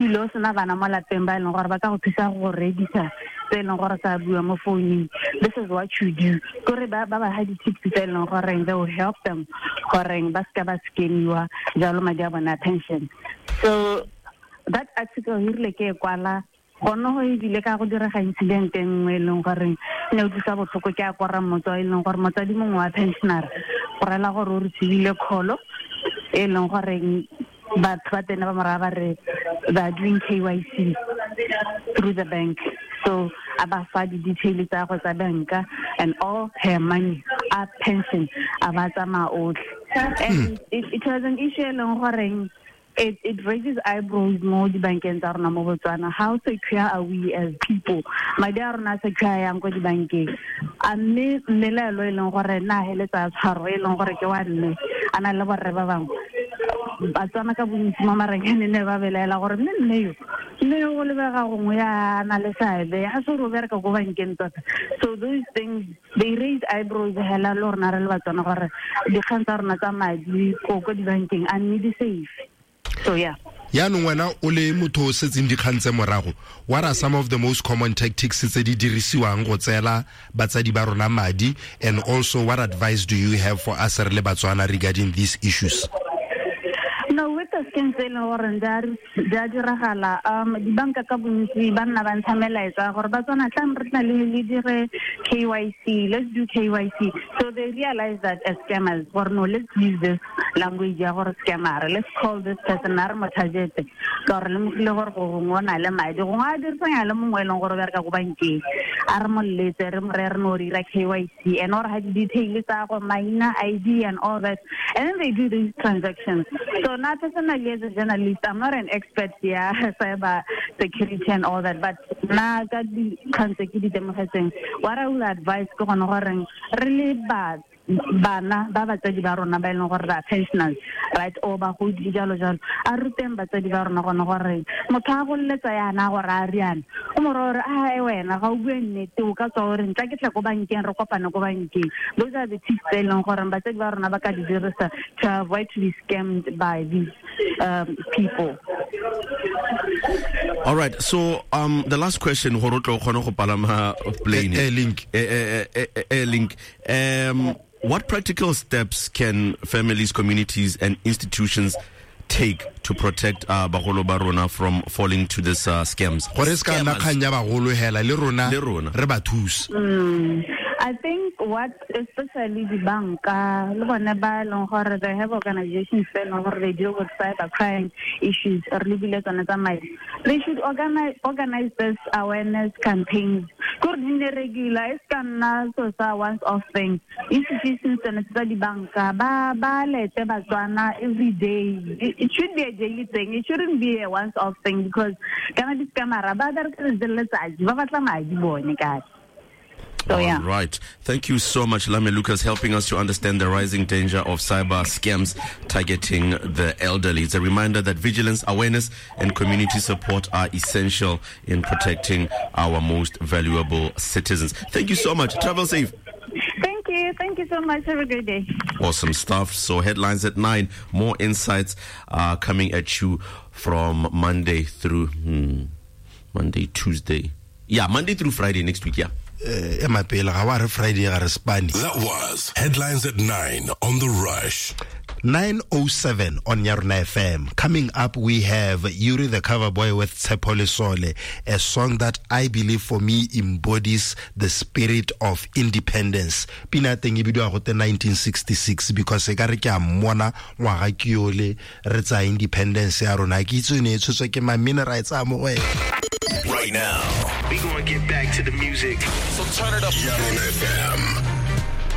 Ebile o sena bana mo lapeng ba e leng gore ba ka go thusa go reedisa tse e leng gore sa bua mo founung, this is what you do. Kore ba ba ha di-tips tse e leng goreng they will help them goreng ba seka ba scamiwa jalo madi a bona pension. So that article e rile ke e kwala gone go ebile ka go direga incident e nngwe e leng goreng ne utlwisa botlhoko ke a kora motswa e leng gore motsadi mongwe wa pensioner go rela gore o receivile call e leng goreng batho ba tena ba moraya ba re they are doing KYC through the bank, so a ba fa di-detail tsa go tsa banka and all her money a pension a ba tsamaya otlhe. And it was an issue e leng goreng it raises eyebrows mo dibankeng tsa rona mo Botswana. How secure are we as people? Madi a rona a secure yang ko dibankeng? A mme mmelaelo e leng gore na heletsa tshwaro e leng gore ke wa mme a na le borre ba bangwe Batswana ka bontsi mo marenyane ne ba belaela gore mme mme yo go lebega gongwe ya na le seabe ga se gore o bereka ko bankeng tota. So those things, they raise eyebrows hela le rona re le Batswana gore dikgang tsa rona tsa madi ko dibankeng a mme di safe. So yeah. Yaanong wena o le motho o setseng dikgang tse morago, what are some of the most common tactics tse di dirisiwang go tseela batsadi ba rona madi, and also what advice do you have for us re le Batswana regarding these issues? No, with the schemes tse e leng gore di a diragala, dibanka ka bontsi ba nna ba ntsha melaetsa gore Batswana tlang re tla le dire KYC, let's do KYC. So they realize that as scammers gore no, let's use this language ya gore scammer, let's call this person a re mo target ka gore lemogile gore gongwe o na le madi, gongwe a dirisanya le mongwe e leng gore o bereka ko bankeng, a re mo letse re mo re no dira KYC and or ha di-detail tsa go maina, ID and all that, and then they do these transactions. So now personally as a journalist, I'm not an expert ya cyber security and all that, but na ka dikgang tse ke di temogetseng, what I will advise ke gone goreng re le ba bana ba batsadi ba rona ba e leng gore ba pensioners, right, or bagodi jalo jalo, a ruteng batsadi ba rona gone gore motho a goleletsa yana gore a riana o mo gore a e wena ga o bue nnete, o ka tswa o re ntla ke tle ko bankeng re kopane ko bankeng. Those are the tips tse e leng gore batsadi ba rona ba ka di dirisa to avoid to be scammed by these people. All right, so the last question, gore o tlo kgone go palama plane. Air Link. Air Link. What practical steps can families, communities and institutions take to protect bagolo ba rona from falling to this scams? Gore se ka nna kgang ya bagolo hela, le rona Le rona. re ba thuse. I think what especially the banka le bone ba e leng gore they have organizations tse e leng gore they deal with cyber crime issues, re lebile tsone tsa madi, they should organize this awareness campaigns gore di nne regular, e se ka nna so sa once off thing. Institutions tsone tsa dibanka ba lete Batswana every day. It should be a daily thing, it shouldn't be a once off thing, because kana di-scammer ba bereka letsatsi le letsatsi, ba batla madi bone kae. So, yeah. All right. Thank you so much, Lame Lucas, helping us to understand the rising danger of cyber scams targeting the elderly. It's a reminder that vigilance, awareness, and community support are essential in protecting our most valuable citizens. Thank you so much. Travel safe. Thank you. Thank you so much. Have a great day. Awesome stuff. So headlines at 9. More insights are coming at you from Monday through Monday, Tuesday. Yeah, Monday through Friday next week, yeah. Ema pele ga wa re Friday ga re spane. That was Headlines at 9 on The Rush. 9:07 on Yarona FM. Coming up, we have Yuri the Cover Boy with Tshepo Lesole, a song that I believe for me embodies the spirit of independence. Pina teng e bidiwa gote 1966 because e ka re ke a mmona ngwaga ke yole re tsaya independence ya rona. Ke itse ne e tshotswe ke mamine ra e tsaya mo go ena. Right now, we going to get back to the music. So turn it up. Yarona FM.